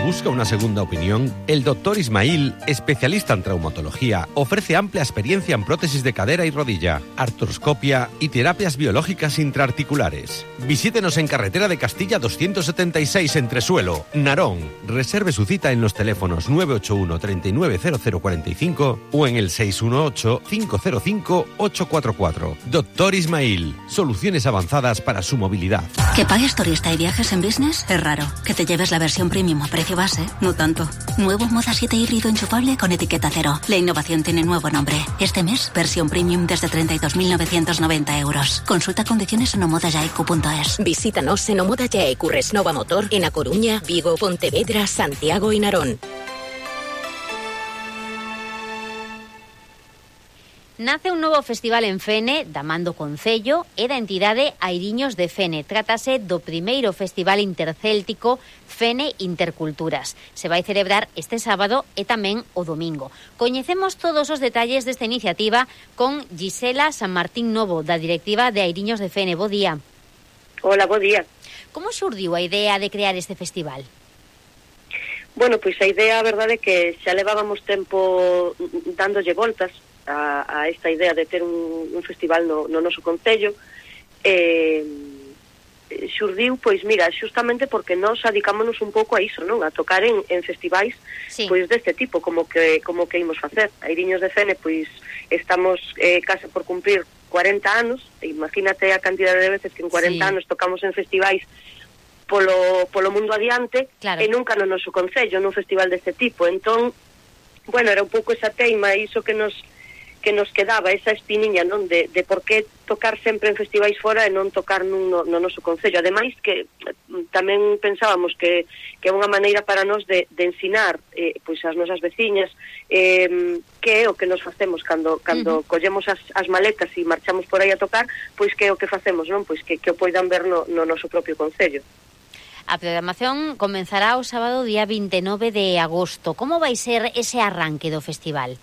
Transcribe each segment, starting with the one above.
busca una segunda opinión, el Dr. Ismail, especialista en traumatología, ofrece amplia experiencia en prótesis de cadera y rodilla, artroscopia y terapias biológicas intraarticulares. Visítenos en Carretera de Castilla 276 Entresuelo, Narón. Reserve su cita en los teléfonos 981 390045 o en el 618 505 844. Dr. Ismail, soluciones avanzadas para su movilidad. ¿Que pagues turista y viajes en business? Es raro. ¿Que te lleves la versión premium a precio base? No tanto. Nuevo Moda 7 híbrido enchufable con etiqueta cero. La innovación tiene nuevo nombre. Este mes, versión premium desde 32.990 euros. Consulta condiciones en omodayaicu.es. Visítanos en Omoda Yaicu Resnova Motor en A Coruña, Vigo, Pontevedra, Santiago y Narón. Nace un novo festival en Fene, da mando concello e da entidade Airiños de Fene. Trátase do primeiro festival intercéltico Fene Interculturas. Se vai celebrar este sábado e tamén o domingo. Coñecemos todos os detalles desta iniciativa con Gisela San Martín Novo, da directiva de Airiños de Fene. Bo día. Hola, bo día. Como xurdiu a idea de crear este festival? Bueno, pois a idea, a verdade, é que xa levábamos tempo dándolle voltas a esta idea de ter un festival no noso concello. Xurdiu, pois mira, xustamente porque nós adicámonos un pouco a iso, non? A tocar en festivais, sí, pois deste tipo, como que imos facer. Airiños de Fene, pois estamos case por cumprir 40 anos, imagínate a cantidade de veces que en 40 anos tocamos en festivais polo mundo adiante, claro, e nunca no noso concello, nun festival deste tipo. Entón, bueno, era un pouco esa teima, iso que nos quedaba, esa espiniña, non, de por que tocar sempre en festivais fora e non tocar no noso concello. Ademais que tamén pensábamos que é unha maneira para nós de ensinar pois as nosas veciñas que é o que nos facemos cando collemos as maletas e marchamos por aí a tocar, pois que é o que facemos, non? Pois que o poidan ver no noso propio concello. A programación comenzará o sábado día 29 de agosto. Como vai ser ese arranque do festival?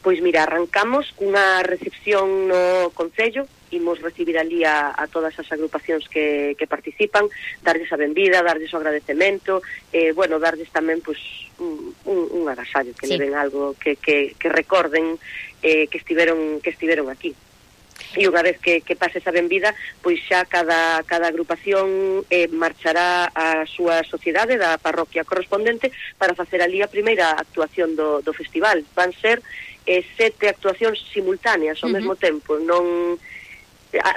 Pois mira, arrancamos cunha recepción no concello, imos recibir ali a todas as agrupacións que participan, darlles a benvida, darlles o agradecemento, bueno, darlles tamén pois un agasallo, que leven algo que recorden que estiveron aquí. E unha vez que pase esa benvida, pois xa cada agrupación marchará á súa sociedade da parroquia correspondente para facer ali a primeira actuación do festival. Van ser 7 actuacións simultáneas ao mesmo tempo, non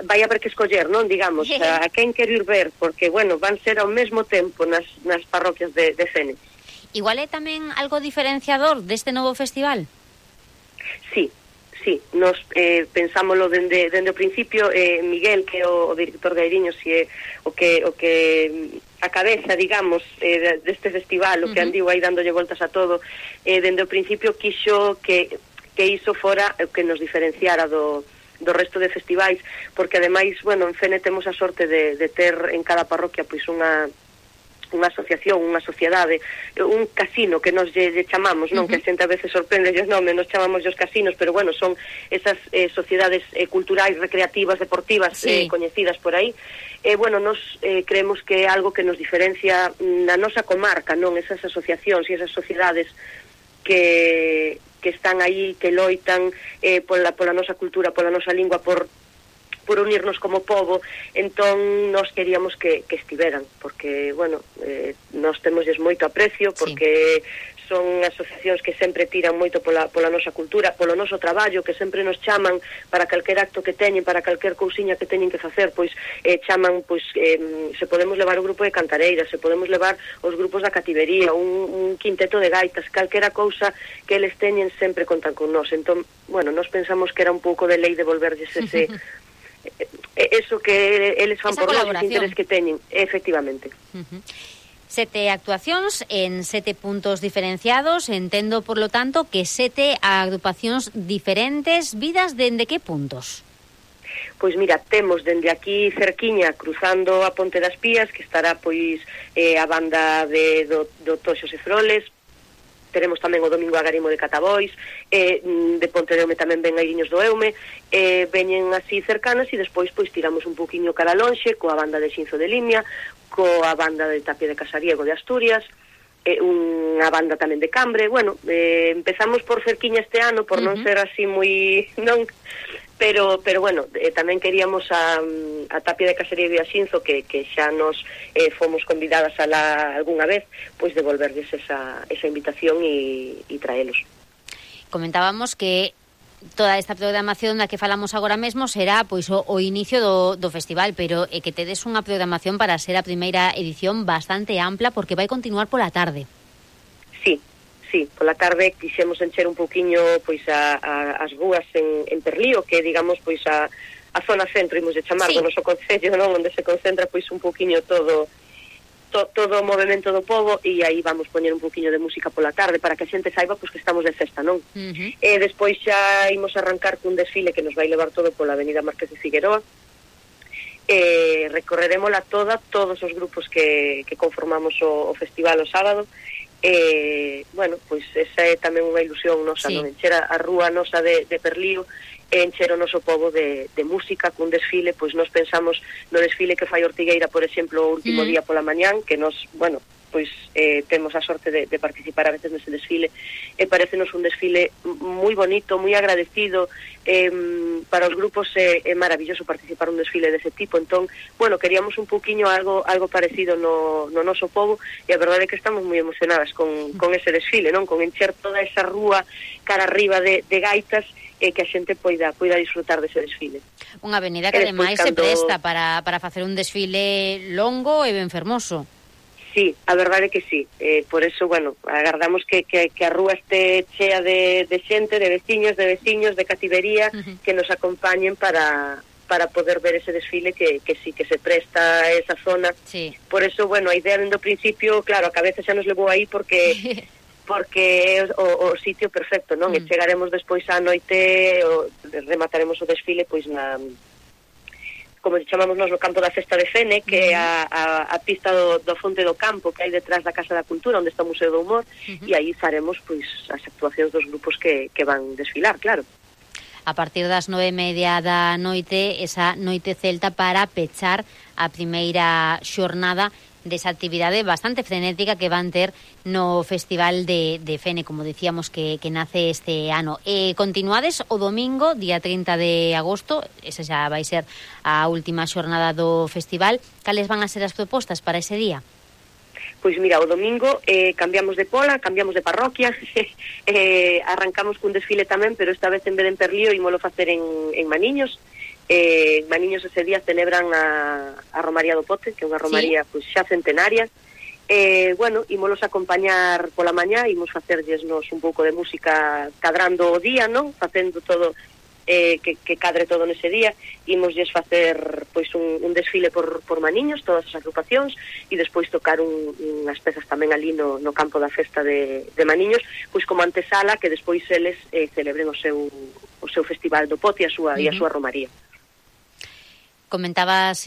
vai haber que escoller, non, digamos, a quen quero ir ver, porque, bueno, van ser ao mesmo tempo nas parroquias de Fene. Igual é tamén algo diferenciador deste novo festival? Sí, nos pensámoslo dende o principio. Miguel, que é o director de Airiños, e o que a cabeza, digamos, deste festival, o que andiu aí dándolle voltas a todo, dende o principio quixo que iso fora o que nos diferenciara do resto de festivais, porque ademais, bueno, en Fene temos a sorte de ter en cada parroquia pois unha asociación, unha sociedade, un casino que nos lle chamamos, non? Que a xente a veces sorprende os nomes, nos chamamos os casinos, pero bueno, son esas sociedades culturais, recreativas, deportivas, coñecidas por aí. Bueno, nos creemos que é algo que nos diferencia na nosa comarca, non? Esas asociacións e esas sociedades que están aí, que loitan pola nosa cultura, pola nosa lingua, por unirnos como pobo. Entón nos queríamos que estiveran, porque, bueno, nos temosles moito aprecio, porque son asociacións que sempre tiran moito pola nosa cultura, polo noso traballo, que sempre nos chaman para calquer acto que teñen, para calquer cousiña que teñen que facer, pois chaman, pois se podemos levar o grupo de cantareiras, se podemos levar os grupos da cativería, un quinteto de gaitas, calquera cousa que eles teñen, sempre contan con nós. Entón, bueno, nos pensamos que era un pouco de lei devolverlles ese eso que eles fan por nós, os intereses que teñen, efectivamente. 7 actuacións en 7 puntos diferenciados. Entendo, por lo tanto, que 7 agrupacións diferentes, vidas dende que puntos? Pois mira, temos dende aquí cerquiña, cruzando a Ponte das Pías, que estará pois a banda do Toxos e Froles. Teremos tamén o domingo a Garimo de Catabois, de Ponte de Eume tamén ven Airiños do Eume, veñen así cercanas, e despois pois tiramos un poquinho cara lonxe coa banda de Xinzo de Limia, coa banda de Tapia de Casariego de Asturias, unha banda tamén de Cambre. Bueno, empezamos por cerquiña este ano, por non ser así moi... non, pero bueno, tamén queríamos a Tapia de Casería de Axinzo, que xa nos fomos convidadas algunha vez, pois devolverles esa invitación e traelos. Comentábamos que toda esta programación da que falamos agora mesmo será pois o inicio do festival, pero que tedes unha programación para ser a primeira edición bastante ampla, porque vai continuar pola tarde. Sí, pola tarde quixemos encher un pouquiño pois as rúas en Perlío, que digamos pois a zona centro, imos de chamar, do noso concello, non, onde se concentra pois un pouquiño todo o movimento do pobo, e aí vamos poñer un pouquiño de música pola tarde para que a xente saiba pois que estamos de festa, non? Despois xa imos arrancar cun desfile que nos vai levar todo pola avenida Márquez de Figueroa. Recorrerémola todos os grupos que conformamos o festival o sábado. Bueno, pois esa é tamén unha ilusión nosa, non? Encher a rúa nosa de Perlío, encher o noso pobo de música cun desfile. Pois nos pensamos no desfile que fai Ortigueira, por exemplo, o último día pola mañán, que nos, bueno, pois temos a sorte de participar a veces nese desfile, e parécenos un desfile moi bonito, moi agradecido. Para os grupos é maravilloso participar un desfile dese tipo. Entón, bueno, queríamos un pouquiño algo parecido no noso pobo, e a verdade é que estamos moi emocionadas con ese desfile, non? Con encher toda esa rúa cara arriba de gaitas, e que a xente poida disfrutar dese desfile. Unha avenida que ademais se presta para facer un desfile longo e ben fermoso. Sí, a verdade é que sí. Por eso, bueno, agardamos que a rúa este chea de xente, de veciños, de cativería, que nos acompañen para poder ver ese desfile que sí, que se presta a esa zona. Sí. Por eso, bueno, a idea dentro do principio, claro, a cabeza xa nos levou aí porque é o sitio perfecto, non? E chegaremos despois á noite, remataremos o desfile pois como chamamos nós, no campo da Festa de Fene, que é a pista do Fonte do Campo, que hai detrás da Casa da Cultura, onde está o Museo do Humor, e aí faremos pois as actuacións dos grupos que van desfilar, claro. A partir das 9:30 da noite, esa noite celta para pechar a primeira xornada desa actividade bastante frenética que van ter no Festival de Fene, como decíamos, que nace este ano. Continuades o domingo, día 30 de agosto, esa xa vai ser a última xornada do festival. Cales van a ser as propostas para ese día? Pois mira, o domingo cambiamos de pola, cambiamos de parroquia, arrancamos cun desfile tamén, pero esta vez en vez de en Perlío ímolo facer en Maniños. Maniños ese día celebran a Romaría do Pote, que é unha romaría pois xa centenaria. Bueno, ímolos acompañar pola mañá, imos facerlles un pouco de música cadrando o día, non? Facendo todo que cadre todo nese día. Ímoslles facer pois un desfile por Maniños, todas as agrupacións, e despois tocar unhas pezas tamén ali no campo da festa de Maniños, pois como antesala que despois eles celebren o seu festival do Pote e a súa romaría. Comentabas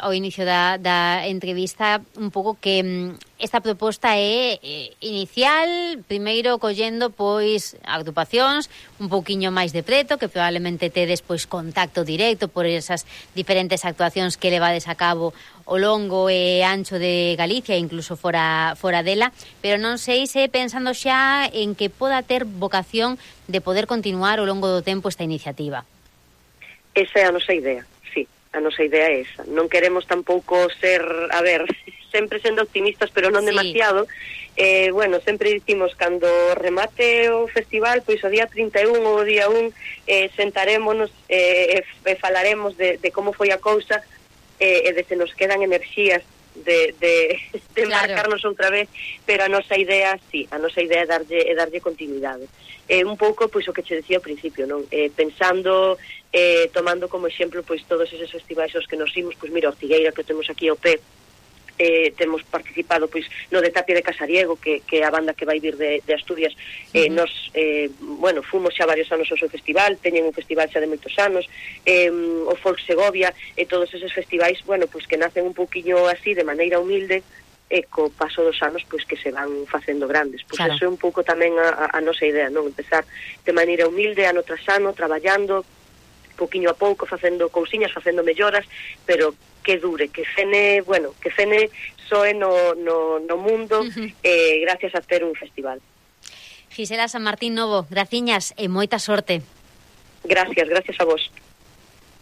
ao inicio da entrevista un pouco que esta proposta é inicial, primeiro collendo pois agrupacións un pouquiño máis de preto, que probablemente tedes pois contacto directo por esas diferentes actuacións que levades a cabo ao longo e ancho de Galicia, incluso fora dela, pero non sei se pensando xa en que poda ter vocación de poder continuar ao longo do tempo esta iniciativa. Esa é a nosa idea. A nosa idea é esa. Non queremos tampouco ser, sempre sendo optimistas, pero non demasiado. Bueno, sempre dicimos, cando remate o festival, pois o día 31 ou o día 1, sentarémonos e falaremos de como foi a cousa, e de se nos quedan enerxías de marcarnos outra vez, pero a nosa idea, sí, a nosa idea é darlle continuidade. Un pouco, pois, o que che decía ao principio, non? Pensando, tomando como exemplo, pois, todos eses festivais aos que nos imos, pois, mira, Ortigueira, que temos aquí ao pé, temos participado, pois, no de Tapia de Casariego, que é a banda que vai vir de Asturias. Nos, bueno, fomos xa varios anos ao seu festival, teñen un festival xa de moitos anos, o Folk Segovia, e todos eses festivais, bueno, pois, que nacen un pouquiño así, de maneira humilde, e co paso dos anos pois que se van facendo grandes. Pois claro, eso é un pouco tamén a nosa idea, non? Empezar de maneira humilde, ano tras ano, traballando, pouquiño a pouco, facendo cousiñas, facendo melloras, pero que dure, que Fene soe no mundo gracias a ter un festival. Gisela San Martín Novo, graciñas e moita sorte. Gracias a vos.